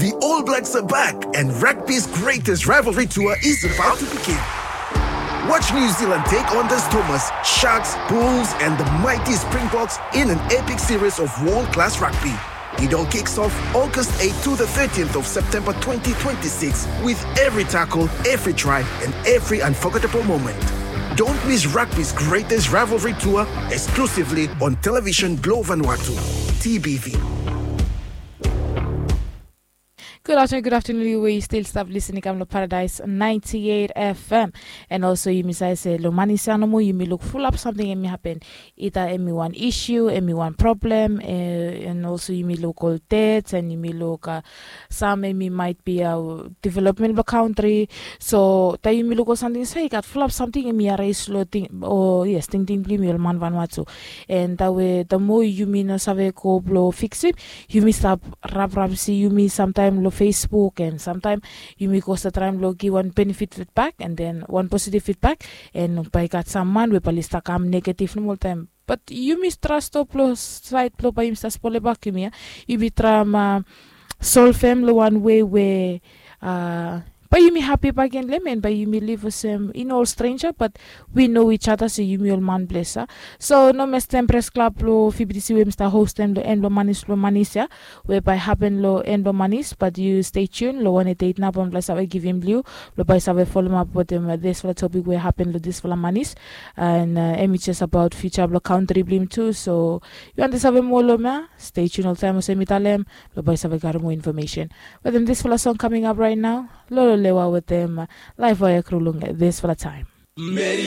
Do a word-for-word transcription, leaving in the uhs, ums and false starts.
The All Blacks are back, and rugby's greatest rivalry tour is about to begin. Watch New Zealand take on the Stormers, Sharks, Bulls, and the mighty Springboks in an epic series of world class rugby. It all kicks off August eighth to the thirteenth of September twenty twenty-six, with every tackle, every try, and every unforgettable moment. Don't miss rugby's greatest rivalry tour, exclusively on Television Globe Vanuatu, T B V. Good afternoon, good afternoon, you wey you still stap listening kam lo Paradise ninety-eight F M. And also yumi save se lo Manis ya nomo yumi luk fulap samting hemi happen. Ita hemi wan issue, hemi wan problem, eh, and also yumi luk ol deaths and yumi luk, uh, sam hemi might be, uh, development blo country. So taem yumi luk ol samting se i gat fulap samting hemi ares lo ting, o yes, tingting blo yumi ol man Vanuatu. And tawe tamo yumi no save go blo fiksum, yumi stap raprap se yumi samtaem lo Facebook and samtaem yumi go stap traem lo gi wan benefit feedback and then wan positive feedback. And bae i gat sam man we bae oli stap kam negative nomo oltaem. But yumi traem stop lo saed blo bae yumi stap spolem bak yumi ya. Yumi traem, uh, solvem lo wan wei we, uh, bae yumi hapi bakegen lo hem and bae yumi liv olsem i no ol strenja, but we know each other se yumi ol man blo ya. So no mestem, Pres Klab blo F B T C we yumi stap hostem lo en blo Manis, blo Manis ya, we bae hapen lo en blo Manis, but yu stay tuned lo one eight eight nao blo bae save givim blo yu, blo bae save folem ap wetem, uh, disfala topik we hapen lo disfala Manis. And, uh, hemi jes abaot future blo kantri blo yumi tu. So yu wantem save moa lo hem ya, stay tuned oltaem olsem mi talem, blo bae save gat moa information wetem disfala song coming up right now. Lolo Lewa wetem, uh, Laefoea Krulung disfala taem.